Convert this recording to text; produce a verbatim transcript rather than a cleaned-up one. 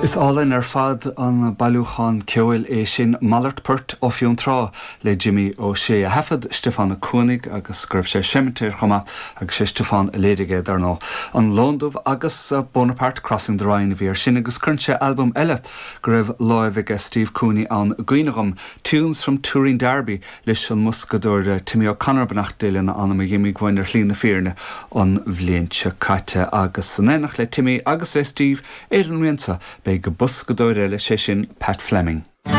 Is álainn ar fad an bailiúchán ceoil é sin Malairt Poirt ó Fionntrá le Jimmy Ó Sé a thaifead Stiofán Ó Cuanaigh agus go raibh sé seimitéir chuma agus sé Stiofán a léirigh dar ndóigh. An Lón Dubh agus Bonaparte Crossing the Rhine a bhí ar sin agus cuireann sé albam eile go raibh láimh aige Steve Cooney ann i gcuimhne dhom Tunes from Toureendarby leis an mboscadóir Timmy O'Connor beannacht Dé lena anam a d'imigh uainn ar shlí na fírinne an bhliain seo caite agus in éineacht le Timmy agus le Steve ar an rian seo beidh boscadóir eile sé sin Pat Fleming.